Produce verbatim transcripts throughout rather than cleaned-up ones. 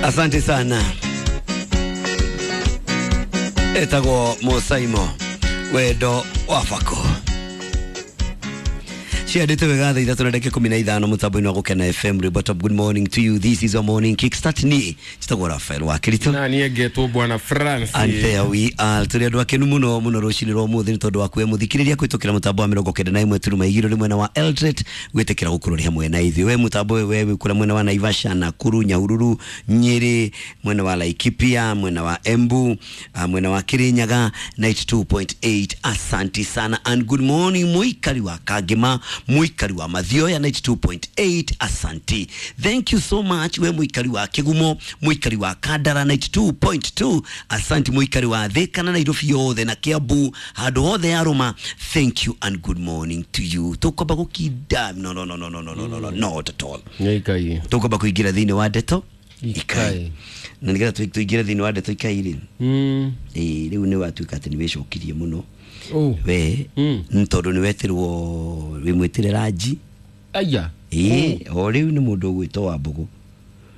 Asante sana. Etagwo Musaimo wendo wa bako. Ciandĩte wega thaa ithatũ na ndagĩka ikũmi na ithano mũtambo-inĩ wa Gũkena F M. Ribot up, good morning to you. This is your morning kickstart. Ni njĩtagwo Rafael wa Kirito na niĩ ngetwo Bwana Francis. And there we are. Tũrĩ andũ akenu mũno mũno rũcinĩ rwa ũmũthĩ nĩ tondũ wa kuoya mũthikĩrĩria kũhĩtũkĩra mũtambo wa mĩrongo kenda na ĩmwe turuma igĩrĩ mwena wa Eldoret gwĩtĩkĩra gũkorwo nĩ hamwe na ithuĩ. We mũtambo ũyũ we wĩ kũrĩa mwena wa Naivasha, Nakuru, Nyahururu, Nyeri, mwena wa Laikipia, mwena wa Embu, mwena wa Kirinyaga ninety two point eight. Asanti sana and good morning mũikari wa Kangema, muikari wa Mathioya ninety two point eight. Asanti, thank you so much. We muikari wa Kigumo, muikari wa Kandara ninety two point two. Asanti muikari wa Thika na Nairobi yothe na Kiambu handu hothe aruma, thank you and good morning to you. Tukwamba gukinda no no no no no no no no not at all. Ikai tukwamba kuingira thiini wa ndeto ikai na nigetha tuingire thiini wa ndeto ikai ri mm eh riu ni watuika ati ni wicokirie muno. Oh. We mm. Ntondu ni wetirwo wimwitire ranji aya eh o riu ni mundu ugwitwo wa Mbugu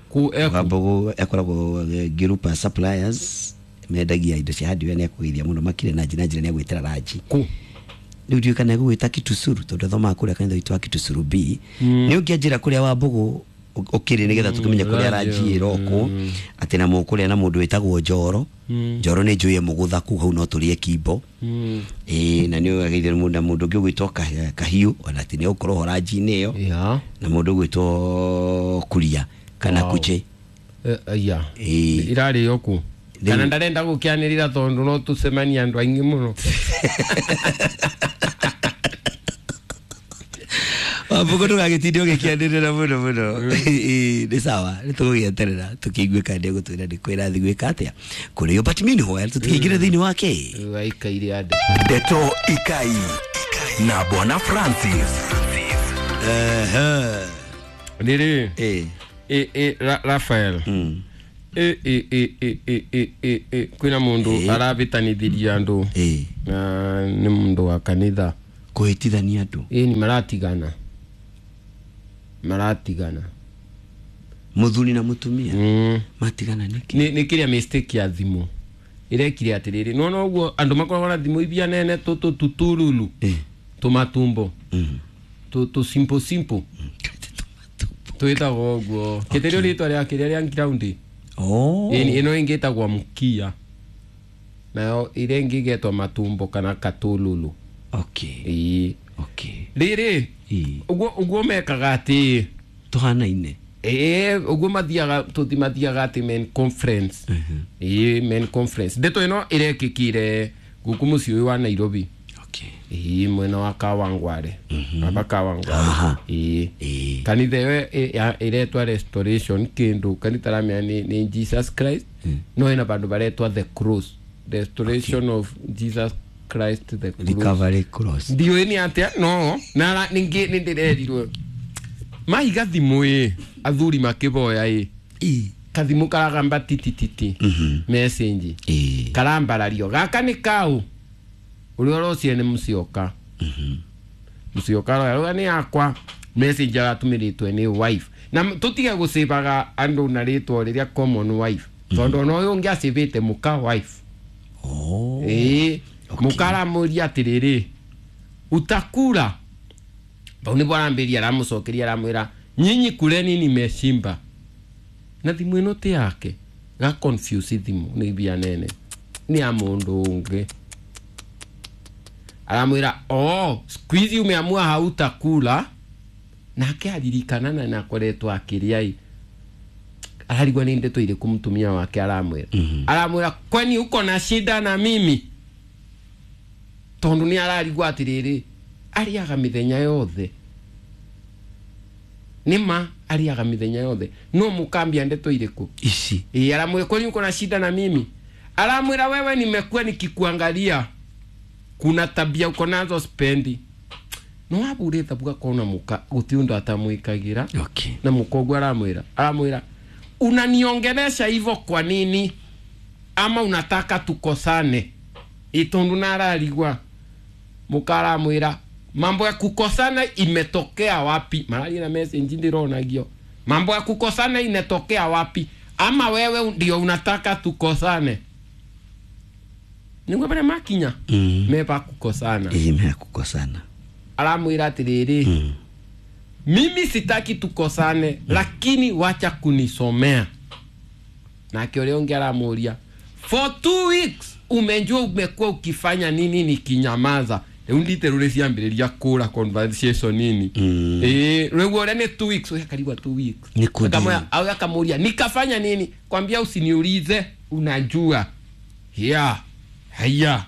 ku eku wa Mbugu ekoragwo group suppliers mendagia indo cia hardware ni akugeithia muno makire na njira njira ni agwitira ranji ku riu ndiu kana egwita Kitusuru tondu athomaga kuria kanitha witu wa Kitusuru B. Ni ungianjira kuria wa Mbugu ukiri nigetha tukimenye kuria ranji iroko ati na mukuria na mundu witagwo Njoro. Njoro ni njuye mugutha ku hau no turie kimbo eh na ni ageithire mundu na mundu ungi ugwitwo Kahiu ona ati ni ukorwo ho ranji-inĩ ĩyo yeah na mundu ugwitwo Kuria kana Kuche ya irari yoku kana ndarenda gukianirira tondu no tucemania andu aingi muno. Wambugu ndũgagĩtinde ũgĩkĩanĩrĩra mũno mũno. Nĩ sawa, nĩ tũgũgĩeterera tũkĩigue kana nĩegũtwĩra nĩ kũ ĩrathiĩ gwĩka atĩa kũrĩo. But meanwhile tũtikĩingĩre thĩinĩ wa kĩ waikaire andũ Ndeto Ikai na Bwana Francis. Ehe rĩrĩ eh eh eh Rafael eh eh eh eh eh eh eh kwĩna mũndũ arabĩtanithirie andũ na nĩ mũndũ wa kanitha kũhĩtithania andũ ĩĩ ni maratigana maratigana muthuri na mutumia mm. matigana niki ni ni kiria mistake ya thimu irekire atiriri no no uguo andu makoragwo na thimu ibia nene tu tu tuturulu eh tumatumbo mm. tu tu simple simple mm. twitagwo uguo kitirio ritwa ria kiria ria ground oh ĩ ino ingi itagwo mukia nayo iria ingi igetwo matumbo kana katululu. Okay. Ĩĩ. Okay. Rĩrĩ uguo uguo mekaga ati tuhanaine ĩĩ uguo mathiaga tutimathiaga ati men conference ĩĩ men conference ndeto ĩno ĩrekĩkire guku mũciĩ ũyũ wa Nairobi. Okay. Ĩĩ mwena wa Kawangware aba Kawangware ĩĩ kanitha ĩyo ĩretwa Restoration kindu kanitha ramenya ni ni Jesus Christ no ĩna bandu baretwa The Cross, Restoration of Jesus Christ the Cross. Recovery Cross. Ndiũĩ nĩ atĩa no na ningĩ nĩ ndĩrerirwo mahiga thimũ ĩ athuri makĩboya ĩ kathimũ karagamba titititi message karambarario gaka nĩ kau ũrĩa ũrocie nĩ mũcioka mũcioka aroga nĩ yakwa message aratũmĩrĩtwe nĩ wife na tũtige gũcĩbaga andũ na rĩtwa rĩrĩa common wife tondũ ona ũyũ ũngĩ acĩbĩte mũka wife. Oh. Ĩĩ mukaramuria atiriri utakula bau nĩguo arambiria aramucokeria aramwĩra nyinyi kuleni nimeshimba na thimu ĩno ti yake ga confuse thimu nĩ mbia nene nĩ ya mũndũ ũngĩ aramwĩra oh squeeze umeamua hautakula nake aririkana na nakoretwo akĩrĩa ararigwo nĩ ndeto irĩkũ mũtumia wake aramwĩra aramwĩra kwani uko na shida na mimi tondu ni ararigwo atiriri ariaga mithenya yothe nima ariaga mithenya yothe no mukambia ndeto iriku ici ii aramwira kwani uko na shida na mimi aramwira wewe nimekuwa nikikuangalia kuna tabia uko nazo spendi no abureta buga kona muka guti undu atamwikagira. Okay. Na mukogu aramwira aramwira unaniongelesha hivyo kwa nini ama unataka tukosane itondu nararigwa mukaramwira mambo ya kukosana imetokea wapi marari na message ndironagio mambo ya kukosana inetokea wapi Ama wewe ndio unataka tukosane. Niguo bare makinya. Mm. Meba kukosana. Ĩĩ me kukosana. Aramwira atiriri. Mm. Mimi sitaki tukosane, mm. lakini wacha kunisomea. Nake ũrĩa ũngĩ aramuria, for two weeks umejua umekuwa ukifanya nini nikinyamaza. Rĩu ndite rũrĩ ciambĩrĩria kũra conversation nini. Mm. Eh, rĩu ũrĩa nĩ two weeks, oya karibu two weeks. Nĩ kũndĩ. Akamoya, au akamuria, nikafanya nini? Kwambia usiniulize, unajua. Yeah. Haya.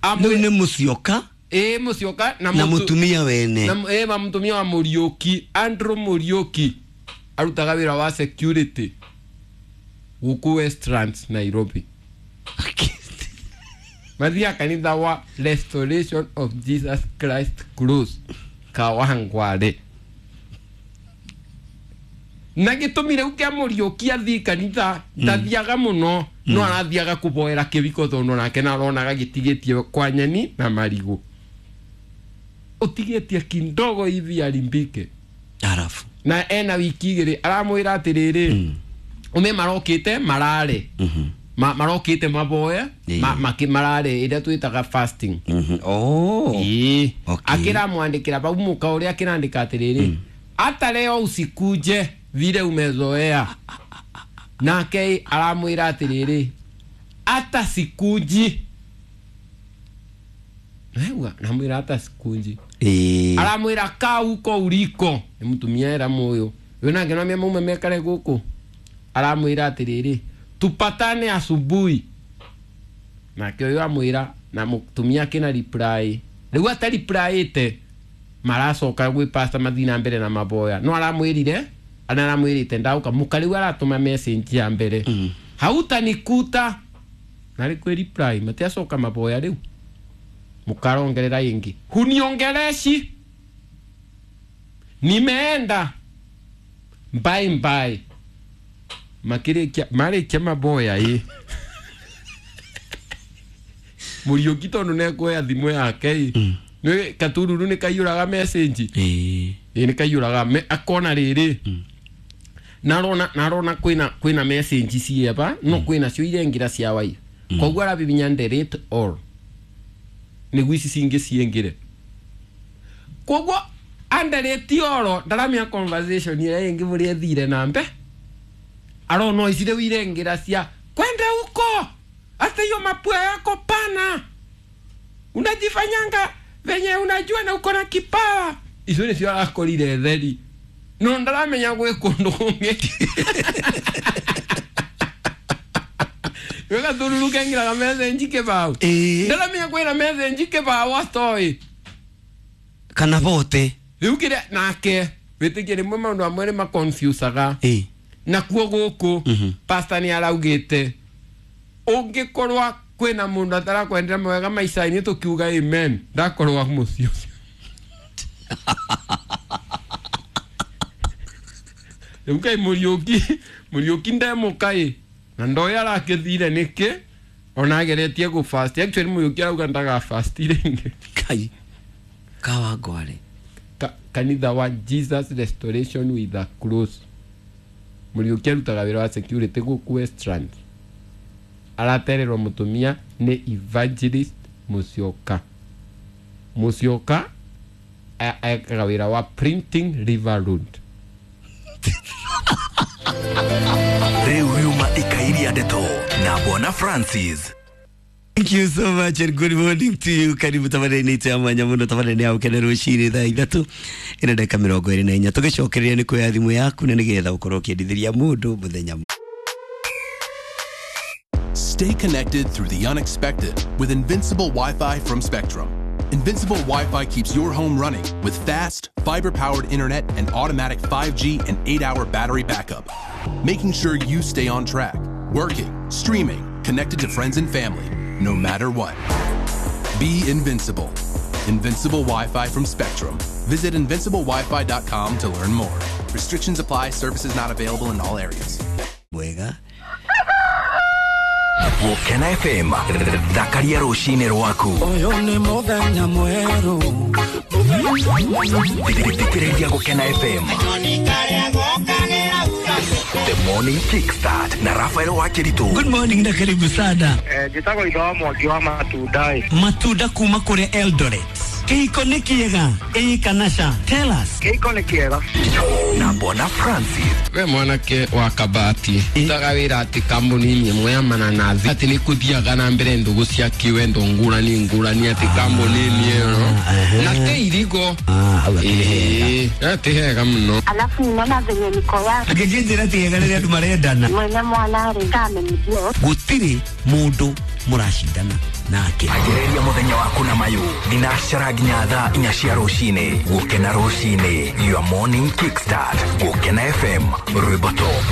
Rĩu nĩ Musyoka Eh, Musyoka na na mutu- mutumia wene. na eh, ma mutumia wa Muriuki, Andrew Muriuki arutaga wĩra wa security gũkũ Westlands Nairobi. Mathiaga kanitha wa Restoration of Jesus Christ Cross Kawangware. Na gĩtũmi rĩu kĩa Muriuki athiĩ kanitha ndathiaga mũno, no arathiaga kũboera kĩbiko tondũ nake naronaga gĩtigĩtie kwa nyeni na marigũ. Ũtigĩtie kindogo hivi arimbike. Arafu. Na ena wiki igĩrĩ aramwĩra atĩrĩrĩ, Mm. ume marokĩte marare. Mhm. Ma, marokĩte maboe Ĩĩ. ma, maki marare ĩrĩa twĩtaga fasting. Mhm. Oh. Ĩĩ. Okay. Akĩramwandĩkĩra bau mũka ũrĩa akĩrandĩka atĩrĩrĩ, hata leo usikuje vile umezoea. Nake aramwĩra atĩrĩrĩ, hata sikuji. Naigua namwĩra hata sikuji. Ĩĩ. Aramwĩra kaa huko uliko. Nĩ mũtumia era mũyũ. Ũyũ nake no maume mekare gũkũ. Aramwĩra atĩrĩrĩ, tupatane asubuhi. Nake ũyũ amwĩra na mũtumia akĩna reply. Rĩu atareplyĩte maracoka gwĩ pastor mathiĩ na mbere na maboya. No aramwĩrire, ana aramwĩrĩte ndauka mũka rĩu aratũma message ya mbere. Mm. Hautanikuta. Na rĩ kwĩ reply matiacoka maboya rĩu. Mukarongerera ingi. Huniongereshi. Nimeenda. Bye bye. Makirikia marikia maboya ĩ. Muriuki tondu nekuoya thimũ yake ĩ. Nĩ katururu nĩ kaiyũraga message. Ĩĩ. Ĩ nĩ kaiyũraga me akona rĩrĩ. Narona narona kwĩna kwĩna message cieba no kwĩna cio irengira cia wai. Koguo arabibinya delete all. Nĩguo ici cingĩ ciingĩre. Koguo andelete oro ndaramenya conversation ĩrĩa ĩngĩ mũrĩa ĩthire na mbe. Arona ici rĩu irengĩra cia kwenda huko hata hiyo mapua yako pana unajifanyanga venye unajua na uko na kipawa. Icio nĩcio arakorire theri no ndaramenya gwĩ kũndũ kũngĩ. Wega tururu kengiraga message kĩbaũ. Ĩĩ. Ndaramenya kwĩna message kĩbaũ atoĩ. Kana bote. Rĩu kĩrĩa nake wĩtĩkie rĩmwe maũndũ amwe nĩ maconfusaga. Ĩĩ. Nakuo gũkũ Mhm. pastor nĩ araugĩte ũngĩkorwo kwĩna mũndũ atarakwendera mawega maica-inĩ tũkiuga amen ndakorwo mũciĩ ũcio. Rĩu kaĩ Mũriũki Mũriũki ndemũka ĩ na ndoĩ arakĩthire nĩkĩ ona ageretie gũ fast. Actually Mũriũki arauga ndaga fast rĩngĩ. Kai. Kawangware. Ka, kanitha wa Jesus Restoration with a Cross. Mũriũki arutaga wĩra wa security gũkũ Westlands. Aratererwo mũtumia nĩ Evangelist Musyoka. Musyoka ekaga wĩra wa printing River Road. Rĩu riuma ikairia ndeto na Bwana Francis. Thank you so much and good morning to you. Karibu tabarĩ-inĩ itũ ya mwanya mũno tabarĩ-inĩ ya gũkena rũcinĩ thaa ithatũ ĩna ndagĩka mĩrongo ĩrĩ na inya. Tũgĩcokereria nĩ kuoya thimũ yaku na nĩgetha ũkorwo ũkĩendithĩria mũndũ mũthenya. Stay connected through the unexpected with Invincible Wi-Fi from Spectrum. Invincible Wi-Fi keeps your home running with fast, fiber-powered internet and automatic five G and eight-hour battery backup, making sure you stay on track, working, streaming, connected to friends and family, no matter what. Be invincible. Invincible Wi-Fi from Spectrum. Visit invincible wifi dot com to learn more. Restrictions apply. Services not available in all areas. Mwega. Gũkena F M, thakaria rũcinĩ rwaku. Ũyũ nĩ mũthenya mwerũ. Thikĩrĩria Gũkena F M. The Morning Kickstart na Rafael Wakiritu. Good morning na karibu sana. Eh, njĩtagwo itho wa Mwangi wa matunda ĩ. Matunda kuma kũrĩa Eldoret. Kĩhiko nĩ kĩega ĩĩ kana ca? Tell us. Kĩhiko nĩ kĩega. Na Bwana Francis. We mwanake wa kabati utaga wĩra atĩ kambuni-inĩ ĩmwe ya mananathi atĩ nĩ kũthiaga na mbere ndũgũ cia kĩwendo ngũrani ngũrani atĩ kambuni-inĩ ĩyo na tĩ irigo. Ah, hau akĩrĩ hega. Ĩĩ, ti hega mũno. Alafu ninaona venye niko yake Angĩkĩnjĩra ti hega rĩrĩa andũ marendana. mwene mwana rĩ kamenibio Gũtirĩ mũndũ mũracindana nake. Anjĩrĩria mũthenya waku na mayũ thinacara nginya thaa inya cia rũcinĩ. Gũkena rũcinĩ, your morning kickstart. Gũkena F M, rwĩmbo top.